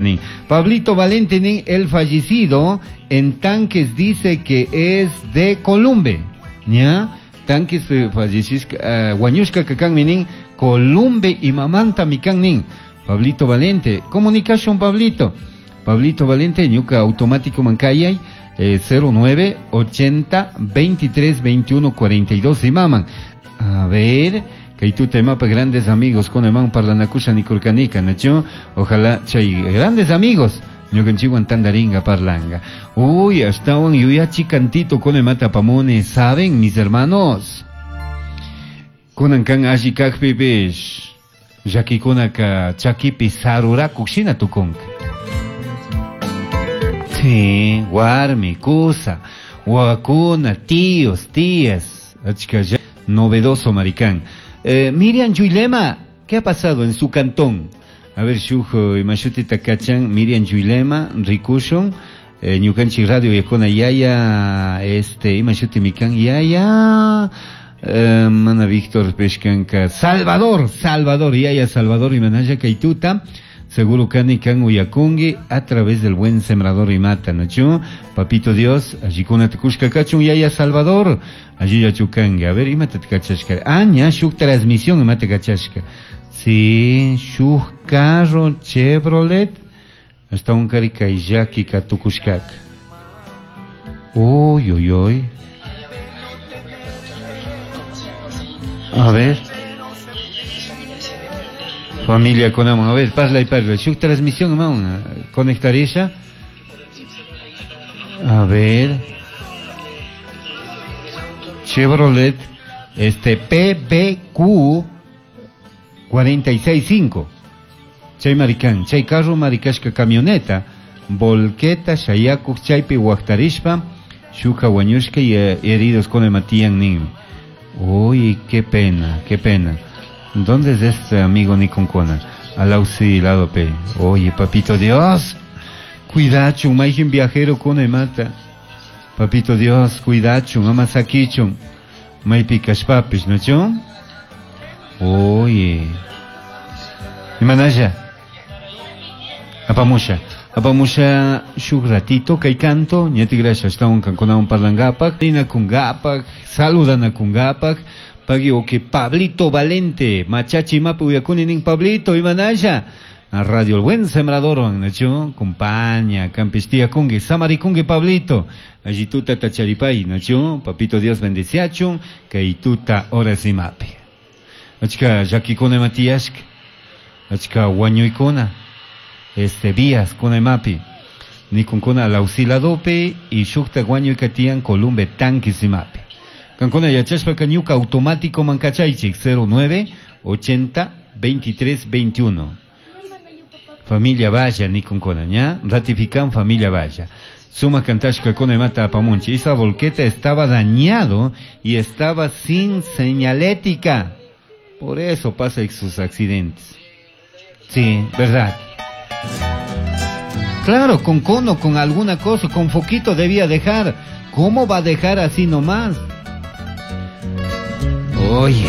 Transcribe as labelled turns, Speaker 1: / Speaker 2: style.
Speaker 1: nin. Pablito Valente nin, el fallecido en Tanques dice que es de Columbe. ¿Ya? Tanques fallecishka, huañushka kakanmi nin, Columbe imamanta mikan nin. Pablito Valente, comunicación Pablito. Pablito Valente, ñuka automático mancayay, 09 80 23 21 42 imaman. A ver, kay tuta imapa grandes amigos con iman parlanakusha nikurkanika, nachu? Ojalá chay grandes amigos ñukanchikwan tandaringa parlang. Uy, ashtawan yuyachi cantito con imata pamone, ¿saben, mis hermanos? Kunan kan alli kajpipish, llakikunaka chakipi sarurakuk shina tukunka. Sí, warmi, kusa, wawakuna, tíos, tías, achka novedoso maricán. Miriam Yuilema, ¿qué ha pasado en su cantón? A ver, shuj, imashuti takachan, Miriam Yuilema, rikushun, ñukanchik radio yakuna yaya, imashuti mikan yaya, mana Víctor Peshkanka, Salvador, Salvador, yaya Salvador imanaya kaituta, seguro kani kan uyakungi a través del buen sembrador y mata, ¿no chu? Papito Dios, allí kuna tukushka kachun yaya Salvador, allí ya chukanga. A ver, imata tkachashka. Ah, ña, shuk transmisión imata kachashka. Sí, shuk carro Chevrolet, hasta un carica y yaki katukushkak. Uy, uy, uy. A ver. Familia con amor. A ver, parla y parla. Shuk transmisión, hermano. Conectar ella. A ver. Chevrolet, PBQ 46.5. Chay maricán, chay carro maricashka camioneta, volqueta, shayakuk, chaypi huactarishpa, shuka huañushka y heridos con el matían nin. Uy, qué pena, qué pena. ¿Dónde es este amigo Niconcona? Al auxiliado P. Oye, papito Dios, cuidacho, maijin viajero con el mata. Papito Dios, cuidacho, amasaquicho, maipicashpapis, ¿no cho? Oye. Imanaya. Apamusha. Apamusha shuk ratito kay canto, ñati gracias, está un cancona un parlangapak, ina kungapak, saludana kungapak. Pagui oke Pablito Valente, machachi mapu uyakuni nin Pablito, imanaya. A Radio El Buen Sembrador, nacho, compañía, campestía kungi, samarikungi Pablito. Allí tuta tacharipay, nacho, papito Dios bendeciachun, kay tuta horas y mape. Achka yakikone Matías, achka huañuikona, vías kone mapi. Nikunkona lausiladope y shukta huañuikatian Columbe tanquis y mape. Cancona yachashpa ñuka automático mancachaychik 09 80 23 21. Familia Valla, Nikunkona, ña? Ratifican familia Valla. Suma cantashka kone mata apamunchi. Esa volqueta estaba dañado y estaba sin señalética. Por eso pasa sus accidentes. Sí, verdad. Claro, con cono, con alguna cosa, con foquito debía dejar. ¿Cómo va a dejar así nomás? Oye.